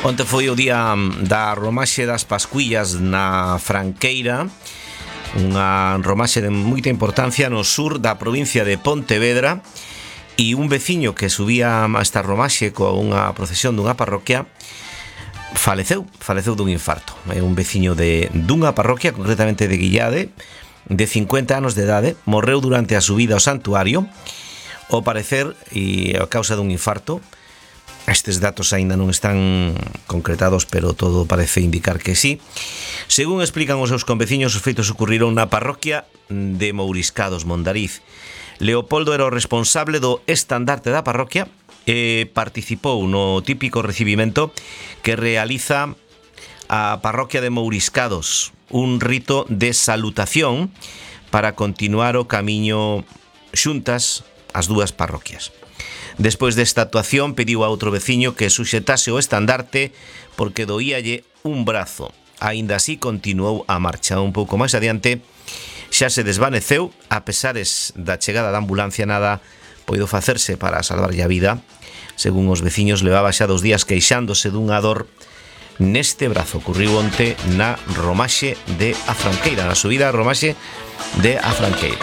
Onte foi o día da romaxe das Pascuillas na Franqueira, unha romaxe de moita importancia no sur da provincia de Pontevedra, e un veciño que subía a esta romaxe coa unha procesión dunha parroquia faleceu dun infarto. É un veciño dunha parroquia, concretamente de Guillade, de 50 anos de idade, morreu durante a subida ao santuario, ao parecer, e a causa dun infarto. Estes datos aínda non están concretados, pero todo parece indicar que sí. Según explican os seus conveciños, os feitos ocurriron na parroquia de Mouriscados, Mondariz. Leopoldo era o responsable do estandarte da parroquia e participou no típico recibimento que realiza a parroquia de Mouriscados, un rito de salutación para continuar o camiño xuntas as dúas parroquias. Despois desta actuación pediu a outro veciño que suxetase o estandarte porque doíalle un brazo. Aínda así continuou a marcha. Un pouco máis adiante xa se desvaneceu, a pesares da chegada da ambulancia nada poido facerse para salvarlle a vida. Según os veciños, levaba xa 2 días queixándose dunha dor neste brazo. Ocurriu onte na romaxe de A Franqueira, na subida a romaxe de A Franqueira.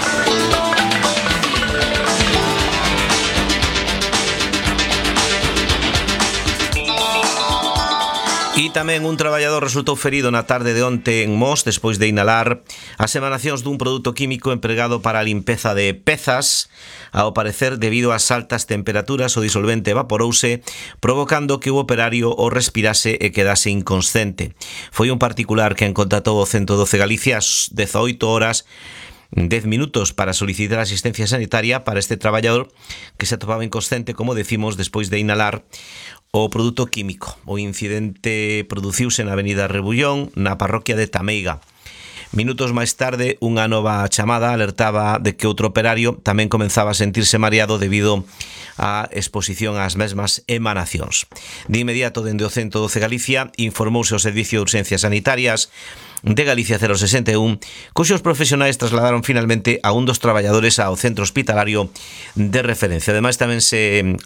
E tamén un traballador resultou ferido na tarde de onte en Mos despois de inhalar as emanacións dun produto químico empregado para a limpeza de pezas. Ao parecer, debido ás altas temperaturas, o disolvente evaporouse, provocando que o operario o respirase e quedase inconsciente. Foi un particular quen contactou o 112 Galicia ás 18 horas 10 minutos para solicitar asistencia sanitaria para este traballador que se atopaba inconsciente, como decimos, despois de inhalar o produto químico. O incidente produciuse na avenida Rebullón, na parroquia de Tameiga. Minutos máis tarde, unha nova chamada alertaba de que outro operario tamén comenzaba a sentirse mareado debido á exposición ás mesmas emanacións. De inmediato, dende o 112 Galicia, informouse o Servicio de Urxencias Sanitarias de Galicia 061, cuxos profesionais trasladaron finalmente a un dos traballadores ao centro hospitalario de referencia. Ademais, tamén se